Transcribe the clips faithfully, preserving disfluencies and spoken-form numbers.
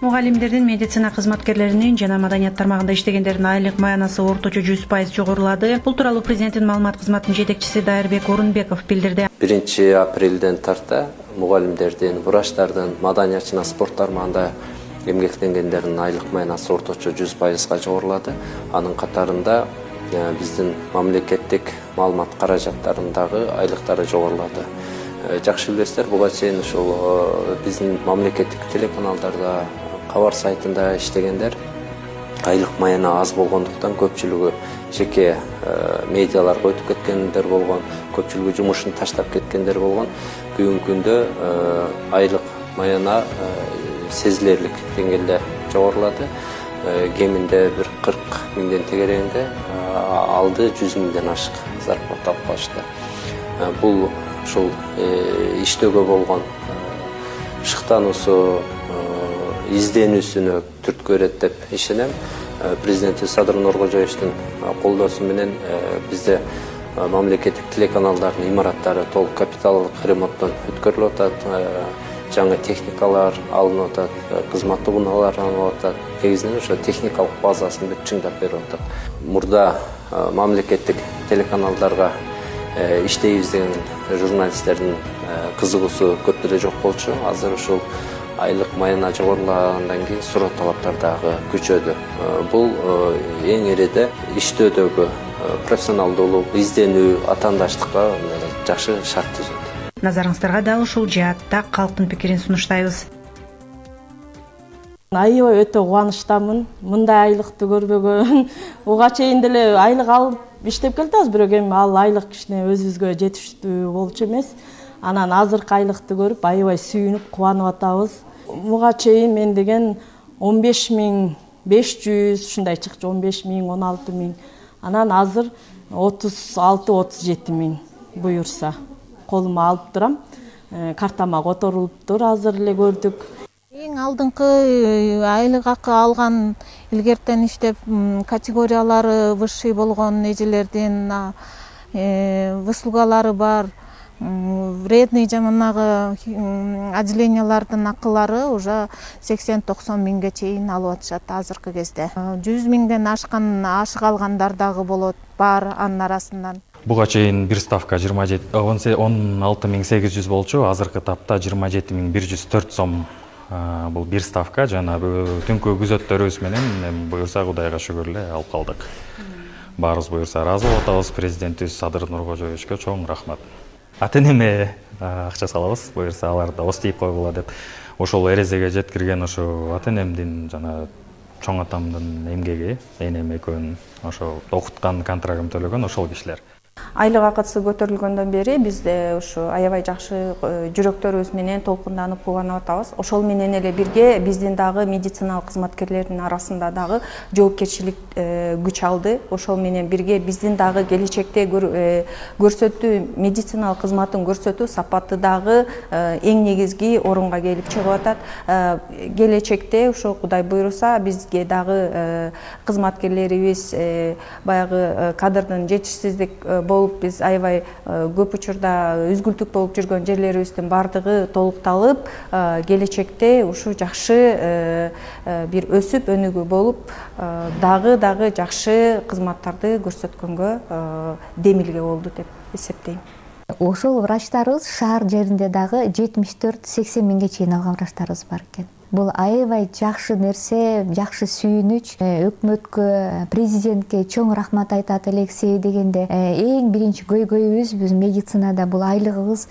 Мугалимдердин, медицина кызматкерлеринин жана маданият тармагында иштегендердин айлык маянасы орточо жүз пайыз жогорулады. Бул тууралуу президенттин маалымат кызматынын жетекчиси Дайырбек Орунбеков билдирди. биринчи апрелден тарта мугалимдердин, врачтардын, маданият жана спорт тармагында эмгектенгендердин айлык маянасы орточо жүз пайызга жогорулады. Анын катарында биздин мамлекеттик маалымат каражаттарындагы айлыктары жогорулады. Жакшы билесиздер, буга чейин ушул биздин мамлекеттик телеканалдарда, кабар сайтында иштегендер айлык маяна аз болгондуктан көпчүлүгү жеке медиаларга өтүп кеткендер болгон, көпчүлүгү жумушун таштап кеткендер болгон. Бүгүнкү күндө айлык маяна сезилерлик деңгээлде жогорулады. Кеминде бир кырк миңден тегерегинде, алды жүз миңден ашык зарплата алып калышты. Бул ушул иштөөгө болгон шыктануусу, изденүүсүнө түрткү берет деп ишенем. Президент Садыр Нуркожоевичтин колдоосу менен бизде мамлекеттик телеканалдардын имараттары толук капиталдык ремонттон өткөрүлүп атат. Жаңы техникалар алынып атат, кызматтык унаалар алынып атат. Негизинен ошо техникалык базасын бүт чыңдап берип атат. Мурда мамлекеттик телеканалдарга иштейбиз деген журналисттердин кызыгуусу көп деле жок болчу. Азыр ушул айлык маяна жогорулагандан кийин суроо талаптар дагы күчөдү. Бул эң ириде иштөөдөгү профессионалдуулук, изденүү, атаандаштыкка жакшы шарт түзөт. Назарыңыздарга дал ушул жаатта калктын пикирин сунуштайбыз. Аябай өтө кубанычтамын. Мындай айлыкты көрбөгөн. Буга чейин деле айлык алып иштеп келатабыз, бирок эми ал айлык кичине өзүбүзгө жетиштүү болчу эмес. Анан азыркы айлыкты көрүп аябай сүйүнүп, кубанып атабыз. Буга чейин мен деген он беш миң беш жүз ушундай чыкчу, он беш миң, он алты миң. Анан азыр отуз алты отуз жети миң буюрса колума алып турам. Картама которулуптур, азыр эле көрдүк. Эң алдыңкы айлык акы алган илгертен иштеп категориялары высший болгон эжелердин выслугалары бар. Вредный жаманагы отделениялардын акылары уже сексен токсон миңге чейин алып атышат азыркы кезде. жүз миңден ашкан ашык алгандар дагы болот, бар анын арасынан. Буга чейин бир ставка жыйырма жети он алты миң сегиз жүз болчу, азыркы тапта жыйырма жети миң бир жүз төрт сом. Бул бир ставка, жана түнкү күзөттөрүбүз менен буюрса Кудайга шүгүр эле алып калдык. Баарыбыз буюрса ыраазы болуп атабыз. Президентибиз Садыр Нуркожоевичке чоң рахмат. Ата-энеме акча салабыз, буюрса алар да ос тийип койгула деп. Ошол эрезеге жеткирген ошо ата-энемдин жана чоң атамдын эмгеги, энем экөөнүн ошо окуткан, контрагын төлөгөн ошол кишилер. Айлык акысы көтөрүлгөндөн бери бизде ушу аябай жакшы жүрөктөрүбүз менен толкунданып кубанып атабыз. Ошол менен эле бирге биздин дагы медициналык кызматкерлердин арасында дагы жоопкерчилик күч алды. Ошол менен бирге биздин дагы келечекте көрсөтүү медициналык кызматын көрсөтүү сапаты дагы эң негизги орунга келип чыгып атат. Келечекте ошо Кудай буйруса бизге дагы кызматкерлерибиз баягы кадрдын жетишсиздик болуп биз аябай көп учурда үзгүлтүк болуп жүргөн жерлерибиздин бардыгы толукталып, келечекте ушу жакшы бир өсүп өнүгүү болуп, дагы дагы жакшы кызматтарды көрсөткөнгө демилге болду деп эсептейм. Ошол врачтарыбыз шаар жеринде дагы жетимиш төрт сексен миңге чейин алган врачтарыбыз бар экен. Бул аябай жакшы нерсе, жакшы сүйүнүч. Өкмөткө, президентке чоң рахмат айтат элексей дегенде, эң биринчи көйгөйүбүз биз медицинада бул айлыгыбыз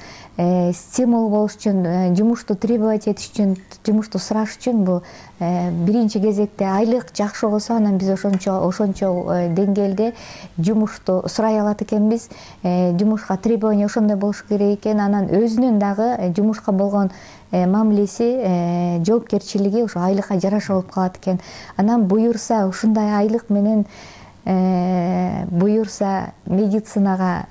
стимул болуш үчүн, жумушту требовать этиш үчүн, жумушту сураш үчүн бул биринчи кезекте айлык жакшы болсо, анан биз ошончо ошончо деңгээлде жумушту сурай алат экенбиз. Жумушка требование ошондой болуш керек экен, анан өзүнүн дагы жумушка болгон мамилеси, жоопкерчилиги ошо айлыкка жараша болуп калат экен. Анан буюрса ушундай айлык менен буюрса медицинага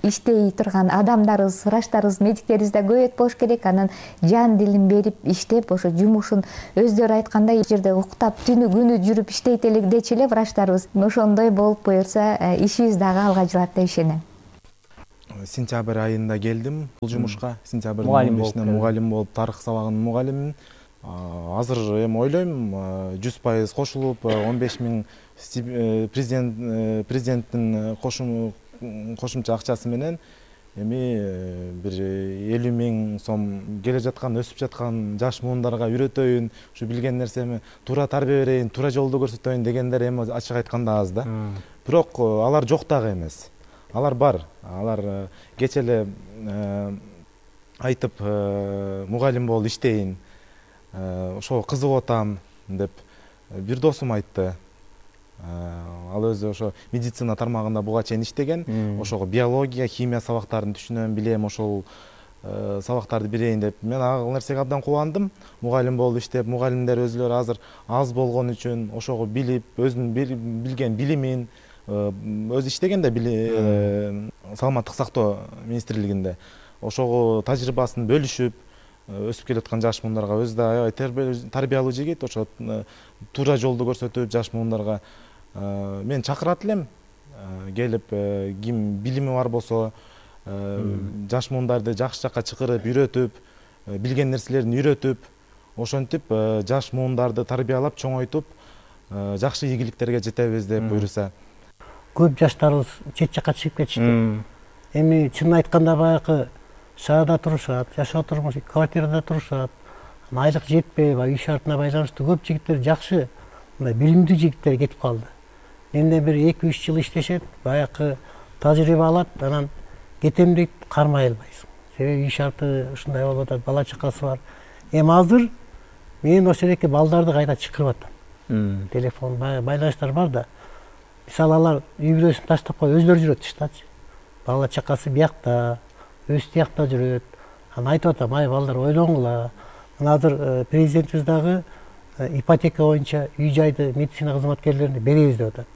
иштей турган адамдарыбыз, врачтарыбыз, медиктерибиз да көбөйөт болуш керек. Анан жан дилин берип иштеп, ошо жумушун өздөрү айткандай жерде уктап, түнү күнү жүрүп иштейт эле дечи эле врачтарыбыз. Ошондой болуп буюрса ишибиз дагы алга жылат деп ишенем. Сентябрь айында келдим бул жумушка. Сентябрдын он бешинде мугалим болуп, тарых сабагынын мугалимимин. азыр эми ойлойм жүз пайыз кошулуп он беш миң президент президенттин кошумча акчасы менен эми бир элүү миң сом келе жаткан өсүп жаткан жаш муундарга үйрөтөйүн, ушу билген нерсеми туура тарбия берейин, туура жолду көрсөтөйүн дегендер эми ачык айтканда аз да. Бирок алар жок дагы эмес. Алар бар. Алар кече эле айтып мугалим болуп иштейин, ошого кызыгып атам деп бир досум айтты. Ал өзү ошо медицина тармагында буга чейин иштеген, ошого биология, химия сабактарын түшүнөм, билем, ошол сабактарды берейин деп мен ал нерсеге абдан кубандым. Мугалим болуп иштеп, мугалимдер өзүлөрү азыр аз болгон үчүн ошого билип, өзүнүн билген билимин өзү иштеген да саламаттык сактоо министрлигинде ошого тажрыйбасын бөлүшүп өсүп келаткан жаш муундарга өзү да аябай тарбиялуу жигит, ошо туура жолду көрсөтүп жаш муундарга мен чакырат элем. Келип ким билими бар болсо жаш муундарды жакшы жакка чакырып, үйрөтүп, билген нерселерин үйрөтүп, ошентип жаш муундарды тарбиялап, чоңойтуп, жакшы ийгиликтерге жетебиз деп буйруса. Көп жаштарыбыз чет жакка чыгып кетишти. Эми чынын айтканда баягы шаарда турушат, жашоо турмуш квартирада турушат. Айлык жетпей, үй шартына байланыштуу көп жигиттер жакшы, мындай билимдүү жигиттер кетип калды. Эмне бир эки үч жыл иштешет, баягы тажрыйба алат, анан кетем дейт, кармай албайсың. Себеби үй шарты ушундай болуп атат, бала чакасы бар. Эми азыр мен ошол эки балдарды кайта чакырып атам. Телефон байланыштар бар да. Мисалы алар үй бүлөсүн таштап коюп өзлөрү жүрөт тыштачы. Бала чакасы биякта, өз тиякта жүрөт. Анан айтып атам, ай балдар ойлоңула. Мына азыр президентибиз дагы ипотека боюнча үй жайды медицина кызматкерлерине беребиз деп атат.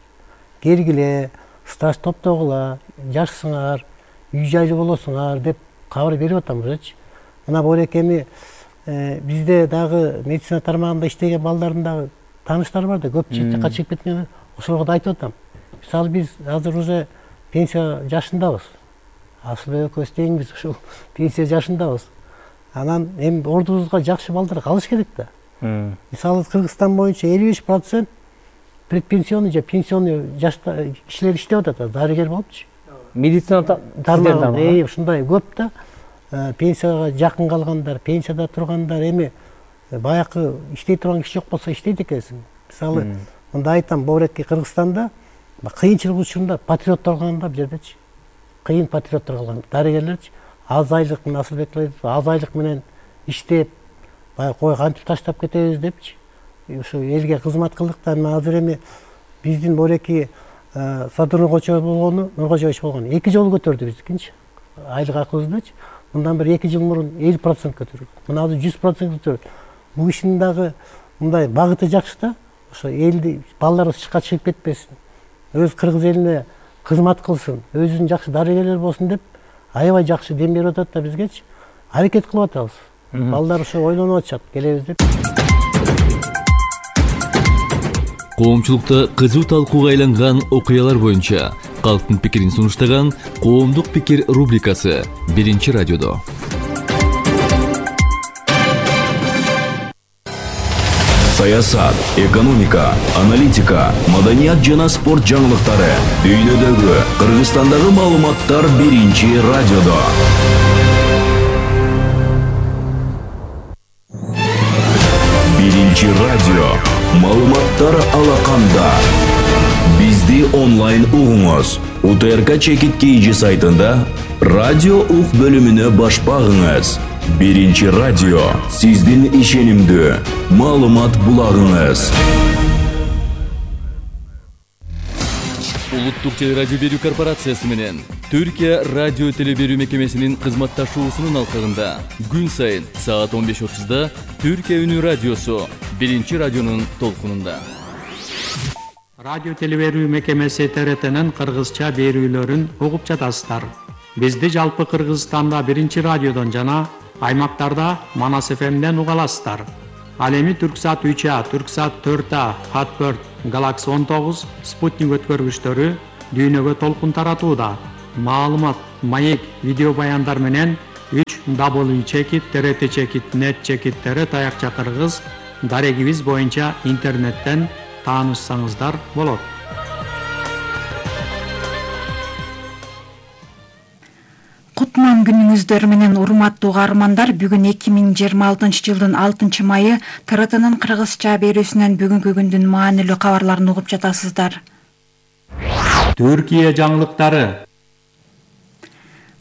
Келгиле, стаж топтогула, жашсыңар, үй жайлуу болосуңар деп кабар берип атам өзүчү. Мына Боорек эми бизде дагы медицина тармагында иштеген балдардын дагы тааныштары бар да, көп чет жакка чыгып кеткен. Ошолорго да айтып атам. Мисалы биз азыр уже пенсия жашындабыз. Асылбек экөөбүз теңбиз ушул пенсия жашындабыз. Анан эми ордубузга жакшы балдар калыш керек да. Мисалы Кыргызстан боюнча элүү беш процент предпенсионный же пенсионный жашта кишилер иштеп атат, дарыгер болупчу. Медицина тармагында э ушундай көп да. Пенсияга жакын калгандар, пенсияда тургандар, эми баягы иштей турган киши жок болсо иштейт экенсиң. Мисалы мында айтам, Боорекке Кыргызстанда кыйынчылык учурунда патриоттор калган да бул жердечи. Кыйын патриоттор калган. Дарыгерлерчи аз айлык, Асылбек айтып, аз айлык менен иштеп, баягы кой кантип таштап кетебиз депчи. Ушу элге кызмат кылдык да, азыр эми биздин Боорекке Садыр Нуркожоев болгону, Нуркожоевич болгону эки жолу көтөрдү биздикинчи. Айлык акыбыздычы. Мындан бир эки жыл мурун элүү процент көтөрдү. Мына азыр жүз процент көтөрдү. Бул кишинин дагы мындай багыты жакшы да. Ошо элди балдар чыкка чыгып кетпесин. Өз кыргыз элине кызмат кылсын, өзүнүн жакшы дарыгерлер болсун деп аябай жакшы дем берип атат да бизгечи. Аракет кылып атабыз. Балдар ошо ойлонуп атышат, келебиз деп. Коомчулукта кызуу талкууга айланган окуялар боюнча калктын пикирин сунуштаган Коомдук пикир рубрикасы биринчи радиодо. Саясат, экономика, аналитика, маданият жана спорт жаңылыктары, дүйнөдөгү, Кыргызстандагы маалыматтар биринчи радиодо. Биринчи радио. Маалыматтар алаканда. Бизди онлайн угуңуз. УТРК Чекит КЖ сайтында радио ук бөлүмүнө баш багыңыз. Биринчи радио. Сиздин ишенимдүү маалымат булагыңыз. Улуттук телерадио берүү корпорациясы менен Түркия радио телеберүү мекемесинин кызматташуусунун алкагында күн сайын саат он беш отузда Түркия үнү радиосу биринчи радионун толкунунда. Радио телеберүү мекемеси Т Р Т'нин кыргызча берүүлөрүн угуп жатасыздар. Бизди жалпы Кыргызстанда биринчи радиодон жана аймактарда Манас эф эмден уга аласыздар. Ал эми Түрксат үч А, Түрксат төрт А, Хатберт, Галакси он тогуз, Спутник өткөргүчтөрү дүйнөгө толкун таратууда. Маалымат, маек, видео баяндар менен үч дабл ю чекит трт чекит нет чекит таякча кыргыз дарегибиз боюнча интернеттен таанышсаңыздар болот. Кутман күнүңүздөр менен урматтуу каармандар, бүгүн эки миң жыйырма алтынчы жылдын алтынчы майы Т Р Т'нын кыргызча берүүсүнөн бүгүнкү күндүн маанилүү кабарларын угуп жатасыздар. Түркия жаңылыктары.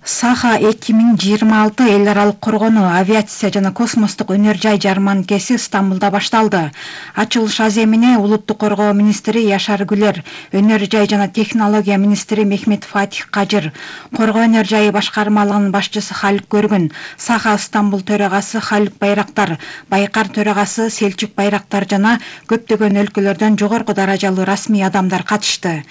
Саха эки миң жыйырма алты эл аралык коргонуу, авиация жана космостук өнөр жай жарманкеси Стамбулда башталды. Ачылыш аземине улуттук коргоо министри Яшар Гүлер, өнөр жай жана технология министри Мехмет Фатих Кажыр, коргоо өнөр жайы башкармалыгынын башчысы Халик Көргүн, Саха Стамбул төрагасы Халик Байрактар, Байкар төрагасы Селчук Байрактар жана көптөгөн өлкөлөрдөн жогорку даражалуу расмий адамдар катышты.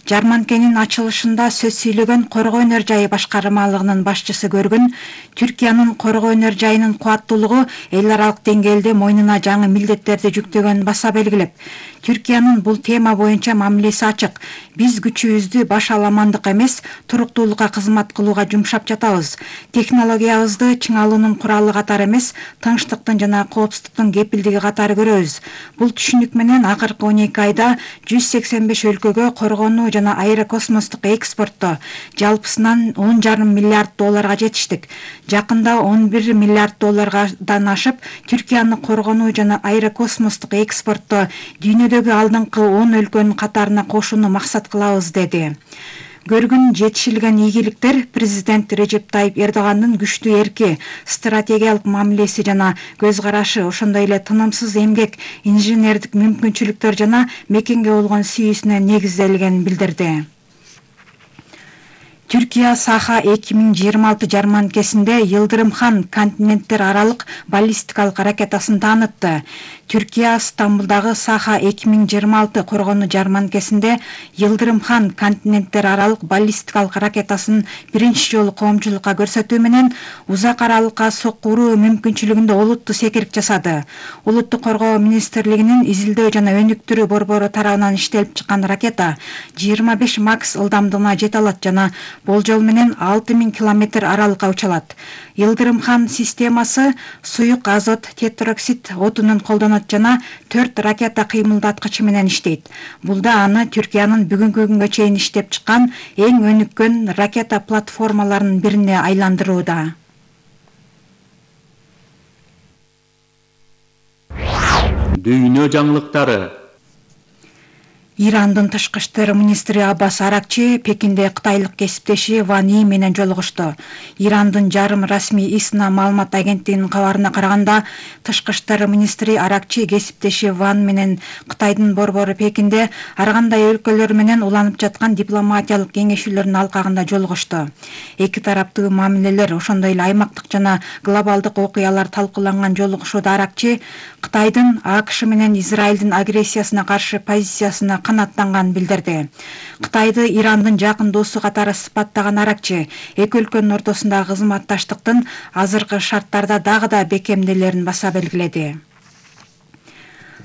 Жарманкенин ачылышында сөз сүйлөгөн коргоо өнөр жайы башкармалыгынын башчысы Көргүн, Түркиянын коргоо өнөр жайынын кубаттуулугу эл аралык деңгээлде мойнуна жаңы милдеттерди жүктөгөнүн баса белгилеп, Түркиянын бул тема боюнча мамилеси ачык. Биз күчүбүздү баш аламандык эмес, туруктуулукка кызмат кылууга жумшап жатабыз. Технологиябызды чыңалуунун куралы катары эмес, тынчтыктын жана коопсуздуктун кепилдиги катары көрөбүз. Бул түшүнүк менен акыркы он эки айда жүз сексен беш өлкөгө коргонуу жана аэрокосмостук экспортто жалпысынан он жарым миллиард долларга жетиштик. Жакында он бир миллиард доллардан ашып, Түркияны коргонуу жана аэрокосмостук экспортто дүйнөдөгү алдыңкы он өлкөнүн катарына кошууну максат кылабыз деди. Көргүн жетишилген ийгиликтер президент Режеп Тайип Эрдогандын күчтүү эрки, стратегиялык мамилеси жана көз карашы, ошондой эле тынымсыз эмгек, инженердик мүмкүнчүлүктөр жана мекенге болгон сүйүүсүнө негизделгенин билдирди. Түркия Саха эки миң жыйырма алты жарманкесинде Йылдырымхан континенттер аралык баллистикалык ракетасын таанытты. Түркия Стамбулдагы Саха эки миң жыйырма алты коргонуу жарманкесинде Йылдырымхан континенттер аралык баллистикалык ракетасын биринчи жолу коомчулукка көрсөтүү менен узак аралыкка соккуруу мүмкүнчүлүгүндө олуттуу секирик жасады. Улуттук коргоо министрлигинин изилдөө жана өнүктүрүү борбору тарабынан иштелип чыккан ракета жыйырма беш макс ылдамдыгына жете алат жана болжол менен алты миң километр аралыкка уча алат. Йылдырымхан системасы суюк азот тетроксид отунун колдонот жана төрт ракета кыймылдаткычы менен иштейт. Бул да аны Түркиянын бүгүнкү күнгө чейин иштеп чыккан эң өнүккөн ракета платформаларынын бирине айландырууда. Дүйнө жаңылыктары. Ирандын тышкы иштер министри Аббас Аракчи Пекинде кытайлык кесиптеши Ван И менен жолугушту. Ирандын жарым расмий ИСНА маалымат агенттигинин кабарына караганда, тышкы иштер министри Аракчи кесиптеши Ван менен Кытайдын борбору Пекинде ар кандай өлкөлөр менен уланып жаткан дипломатиялык кеңешүүлөрдүн алкагында жолугушту. Эки тараптуу мамилелер, ошондой эле аймактык жана глобалдык окуялар талкууланган жолугушууда Аракчи Кытайдын АКШ менен Израилдин агрессиясына каршы позициясына канаттанган билдирди. Кытайды Ирандын жакын досу катары сыпаттаган Аракчи эки өлкөнүн ортосундагы кызматташтыктын азыркы шарттарда дагы да бекемделерин баса белгиледи.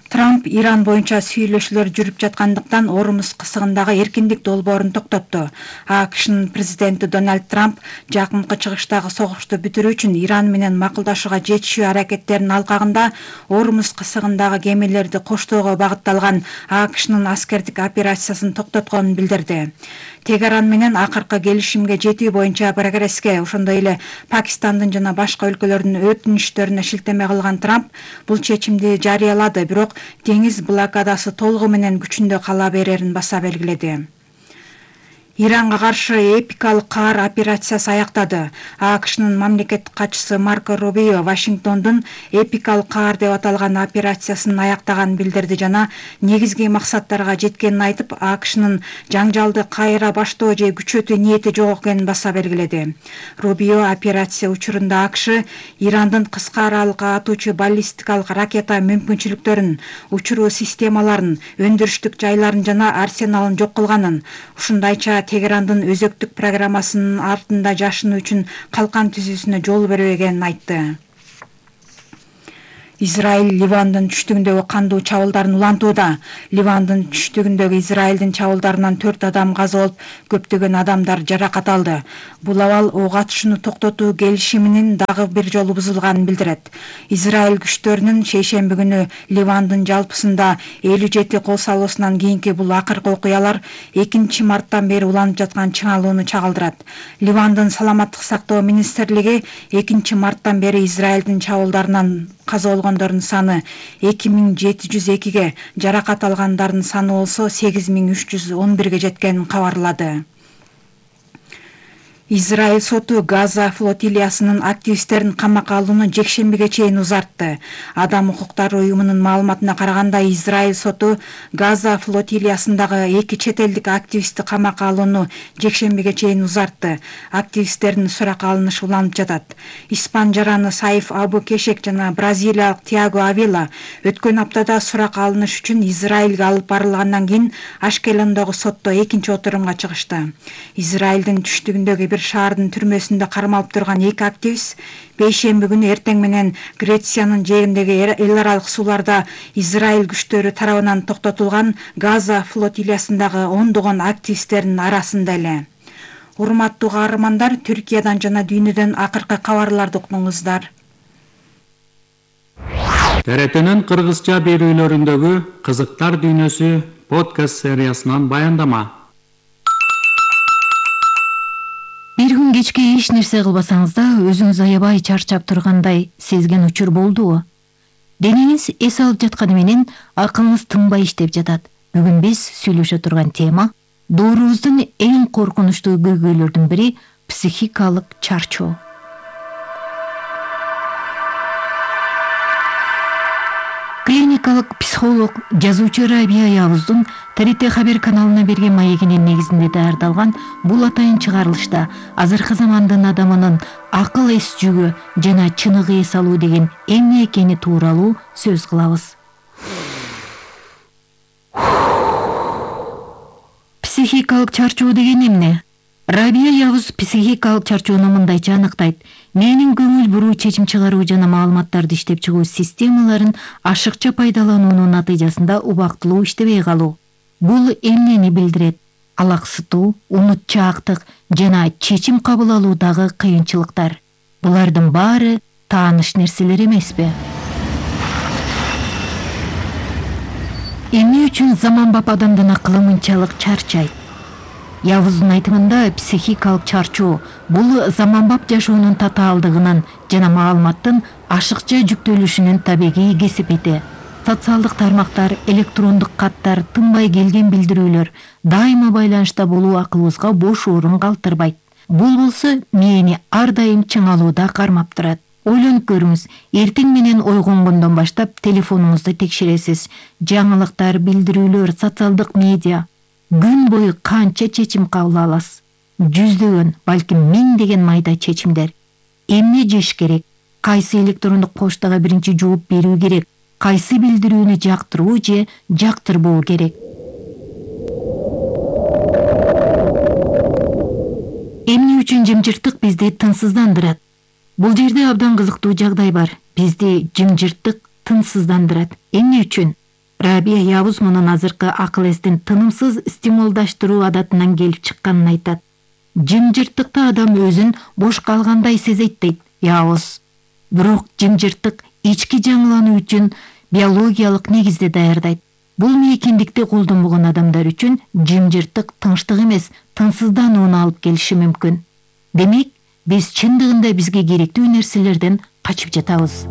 Трамп Иран боюнча сүйлөшүүлөр жүрүп жаткандыктан Ормуз кысыгындагы эркиндик долбоорун токтотту. АКШнын президенти Дональд Трамп жакынкы чыгыштагы согушту бүтүрүү үчүн Иран менен макулдашууга жетишүү аракеттеринин алкагында Ормуз кысыгындагы кемелерди коштоого багытталган АКШнын аскердик операциясын токтотконун билдирди. Тегеран менен акыркы келишимге жетүү боюнча прогресске, ошондой эле Пакистандын жана башка өлкөлөрдүн өтүнүчтөрүнө шилтеме кылган Трамп бул чечимди жарыялады, бирок деңиз блокадасы толугу менен күчүндө кала берерин баса белгиледи. Иранга каршы эпикалык каар операциясы аяктады. АКШнын мамлекеттик катчысы Марко Рубио Вашингтондун эпикалык каар деп аталган операциясын аяктаганын билдирди жана негизги максаттарга жеткенин айтып, АКШнын жаңжалды кайра баштоо же күчөтүү ниети жок экенин баса белгиледи. Рубио операция учурунда АКШ Ирандын кыска аралыкка атуучу баллистикалык ракета мүмкүнчүлүктөрүн, учуруу системаларын, өндүрүштүк жайларын жана арсеналын жок кылганын, ушундайча Тегерандын өзөктүк программасынын артында жашынуу үчүн калкан түзүүсүнө жол бербегенин айтты. Израиль Ливандын түштүгүндөгү кандуу чабуулдарын улантууда. Ливандын түштүгүндөгү Израилдин чабуулдарынан төрт адам каза болуп, көптөгөн адамдар жаракат алды. Бул абал ок атышууну токтотуу келишиминин дагы бир жолу бузулганын билдирет. Израиль күчтөрүнүн шейшемби күнү Ливандын жалпысында элүү жети кол салуусунан кийинки бул акыркы окуялар экинчи марттан бери уланып жаткан чыңалууну чагылдырат. Ливандын саламаттык сактоо министрлиги экинчи марттан бери Израилдин чабуулдарынан каза болгондордун саны эки миң жети жүз экиге, жаракат алгандардын саны болсо сегиз миң үч жүз он бирге жеткенин кабарлады. Израиль соту Газа флотилиясынын активисттерин камакка алууну жекшембиге чейин узартты. Адам укуктары уюмунун маалыматына караганда, Израиль соту Газа флотилиясындагы эки чет элдик активистти камакка алууну жекшембиге чейин узартты. Активисттердин суракка алынышы уланып жатат. Испан жараны Саиф Абу Кешек жана бразилиялык Тиаго Авила өткөн аптада суракка алыныш үчүн Израилге алып барылгандан кийин Ашкелондогу сотто экинчи отурумга чыгышты. Израилдин түштүгүндөгү бир шаардын түрмөсүндө кармалып турган эки активист бейшемби күнү эртең менен Грециянын жээгиндеги эл аралык сууларда Израиль күчтөрү тарабынан токтотулган Газа флотилиясындагы ондогон активисттердин арасында эле. Урматтуу каармандар, Түркиядан жана дүйнөдөн акыркы кабарларды уктуңуздар. Т Р Т'нин кыргызча берүүлөрүндөгү кызыктар дүйнөсү подкаст сериясынан баяндама. Бир күн кечке эч нерсе кылбасаңыз да өзүңүз аябай чарчап тургандай сезген учур болдубу? Денеңиз эс алып жатканы менен акылыңыз тынбай иштеп жатат. Бүгүн биз сүйлөшө турган тема доорубуздун эң коркунучтуу көйгөйлөрдүн бири психикалык чарчоо. Клиникалык психолог, жазуучу Рабия Явуздун Т Р Т Хабер каналына берген маегинин негизинде даярдалган бул атайын чыгарылышта азыркы замандын адамынын акыл эс жүгү жана чыныгы эс алуу деген эмне экени тууралуу сөз кылабыз. Психикалык чарчоо деген эмне? Рабия Явуз психикалык чарчоону мындайча аныктайт. Менин көңүл буруу, чечим чыгаруу жана маалыматтарды иштеп чыгуу системаларын ашыкча пайдалануунун натыйжасында убактылуу иштебей калуу. Бул эмнени билдирет? Алаксытуу, унутчаактык жана чечим кабыл алуудагы кыйынчылыктар. Булардын баары тааныш нерселер эмеспи? Эмне үчүн заманбап адамдын акылы мынчалык чарчайт? Явуздун айтымында психикалык чарчоо бул заманбап жашоонун татаалдыгынын жана маалыматтын ашыкча жүктөлүшүнүн табигый кесипети. Социалдык тармактар, электрондук каттар, тынбай келген билдирүүлөр, дайыма байланышта болуу акылыбызга бош орун калтырбайт. Бул болсо мээни ар дайым чыңалууда кармап турат. Ойлонуп көрүңүз, эртең менен ойгонгондон баштап телефонуңузду текшересиз. Жаңылыктар, билдирүүлөр, социалдык медиа. Күн бою канча чечим кабыл аласыз? Жүздөгөн, балким миңдеген майда чечимдер. Эмне жеш керек? Кайсы электрондук поштага биринчи жооп берүү керек? Кайсы билдирүүнү жактыруу же жактырбоо керек? Эмне үчүн жымжырттык бизди тынсыздандырат? Бул жерде абдан кызыктуу жагдай бар. Бизди жымжырттык тынсыздандырат. Эмне үчүн? Рабия Явуз мунун азыркы акыл эстин тынымсыз стимулдаштыруу адатынан келип чыкканын айтат. Жымжырттыкта адам өзүн бош калгандай сезет дейт Явуз. Бирок жымжырттык ички жаңылануу үчүн биологиялык негизде даярдайт. Бул мейкиндикти колдонбогон адамдар үчүн жымжырттык тынчтык эмес, тынсызданууну алып келиши мүмкүн. Демек, биз чындыгында бизге керектүү нерселерден качып жатабыз.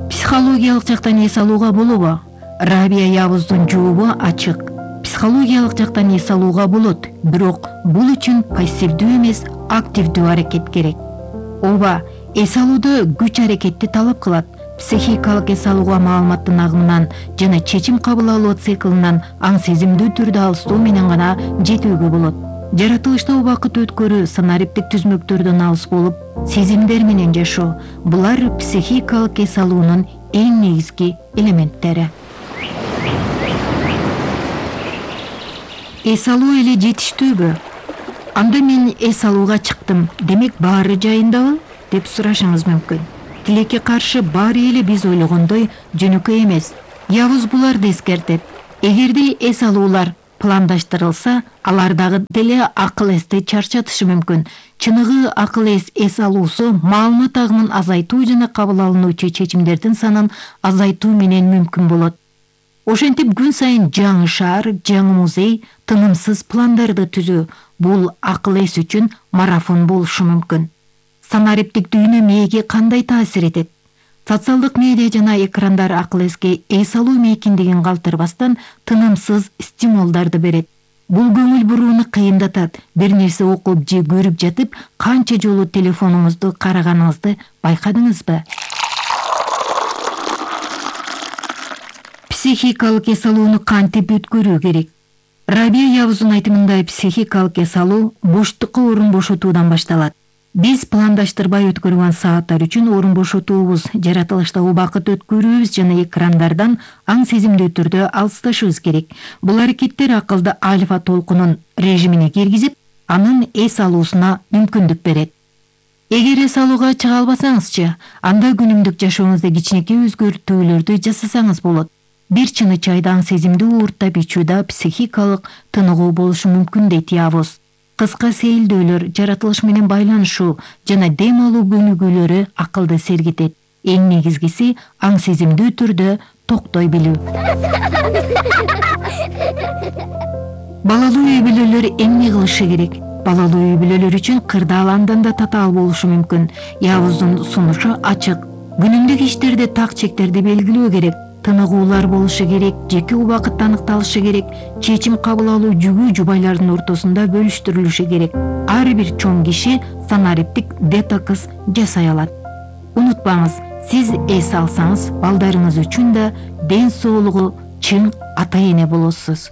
Психологиялык жактан эс алууга болобу? Рабия Явуздун жообу ачык. Психологиялык жактан эс алууга болот, бирок бул үчүн пассивдүү эмес, активдүү аракет керек. Ооба, эс алууда күч аракетти талап кылат. Психикалык эс алууга маалыматтын агымынан жана чечим кабыл алуу циклынан аң сезимдүү түрдө алыстоо менен гана жетүүгө болот. Жаратылышта убакыт өткөрүү, санариптик түзмөктөрдөн алыс болуп, сезимдер менен жашоо — булар психикалык эс алуунун эң негизги элементтери. Эс алуу эле жетиштүүбү? Анда мен эс алууга чыктым, демек баары жайындабы деп сурашыңыз мүмкүн. Тилекке каршы баары эле биз ойлогондой жөнөкөй эмес. Явыз буларды эскертет. Эгерде эс алуулар пландаштырылса, алардагы деле акыл эсти чарчатышы мүмкүн. Чыныгы акыл эс эс алуусу маалымат агымын азайтуу жана кабыл алынуучу чечимдердин санын азайтуу менен мүмкүн болот. Ошентип күн сайын жаңы шаар, жаңы музей, тынымсыз пландарды түзүү бул акыл эс үчүн марафон болушу мүмкүн. Санариптик дүйнө мээге кандай таасир этет? Социалдык медиа жана экрандар акыл эске эс алуу мейкиндигин калтырбастан тынымсыз стимулдарды берет. Бул көңүл бурууну кыйындатат. Бир нерсе окуп же көрүп жатып, канча жолу телефонуңузду караганыңызды байкадыңызбы? Психикалык эс алууну кантип өткөрүү керек? Рабия Явуздун айтымында психикалык эс алуу боштукка орун бошотуудан башталат. Биз пландаштырбай өткөргөн сааттар үчүн орун бошотуубуз, жаратылышта убакыт өткөрүүбүз жана экрандардан аң сезимдүү түрдө алысташыбыз керек. Бул аракеттер акылды альфа толкунун режимине киргизип, анын эс алуусуна мүмкүндүк берет. Эгер эс алууга чыга албасаңызчы, анда күнүмдүк жашооңузда кичинекей өзгөртүүлөрдү жасасаңыз болот. Бир чыны чайды аң сезимдүү уурттап ичүүдө психикалык тыныгуу болушу мүмкүн дейт Явуз. Кыска сейилдөөлөр, жаратылыш менен байланышуу жана дем алуу көнүгүүлөрү акылды сергитет. Эң негизгиси аң сезимдүү түрдө токтой билүү. Балалуу үй бүлөлөр эмне кылышы керек? Балалуу үй бүлөлөр үчүн кырдаал андан да татаал болушу мүмкүн. Явуздун сунушу ачык. Күнүмдүк иштерде так чектерди белгилөө керек. Тыныгуулар болушу керек, жеке убакыт аныкталышы керек, чечим кабыл алуу жүгүү жубайлардын ортосунда бөлүштүрүлүшү керек. Ар бир чоң киши санариптик детокс жасай алат. Унутпаңыз, сиз эс алсаңыз, балдарыңыз үчүн да ден соолугу чың ата эне болосуз.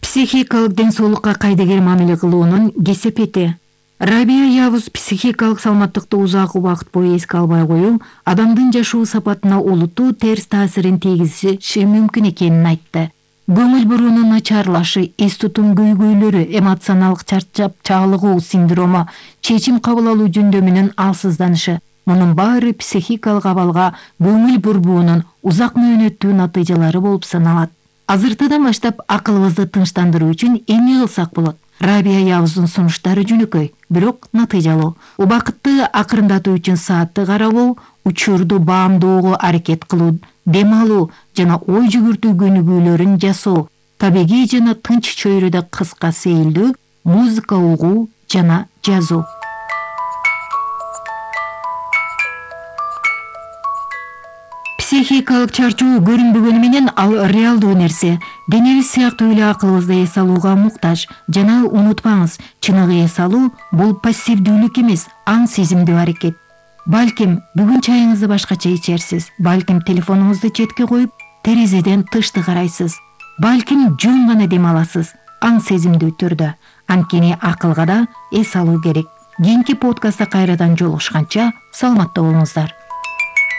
Психикалык ден соолукка кайдыгер мамиле кылуунун кесепети. Рабия Явуз психикалык саламаттыкты узак убакыт бою эске албай коюу адамдын жашоо сапатына олуттуу терс таасирин тийгизиши мүмкүн экенин айтты. Көңүл буруунун начарлашы, эс тутум көйгөйлөрү, эмоционалдык чарчап чагылыгуу синдрому, чечим кабыл алуу жөндөмүнүн алсызданышы — мунун баары психикалык абалга көңүл бурбоонун узак мөөнөттүү натыйжалары болуп саналат. Азыртыдан баштап акылыбызды тынчтандыруу үчүн эмне кылсак болот? Рабия Явуздун сунуштары жөнөкөй, бирок натыйжалуу. Убакытты акырындатуу үчүн саатты карабоо, учурду баамдоого аракет кылуу, дем алуу жана ой жүгүртүү көнүгүүлөрүн жасоо, табигый жана тынч чөйрөдө кыска сейилдөө, музыка угуу жана жазуу. Психикалык чарчоо көрүнбөгөнү менен ал реалдуу нерсе. Денебиз сыяктуу эле акылыбызды эс алууга муктаж. Жана унутпаңыз, чыныгы эс алуу бул пассивдүүлүк эмес, аң сезимдүү аракет. Балким бүгүн чайыңызды башкача ичерсиз, балким телефонуңузду четке коюп, терезеден тышты карайсыз, балким жөн гана дем аласыз, аң сезимдүү түрдө. Анткени акылга да эс алуу керек. Кийинки подкастта кайрадан жолугушканча саламатта болуңуздар.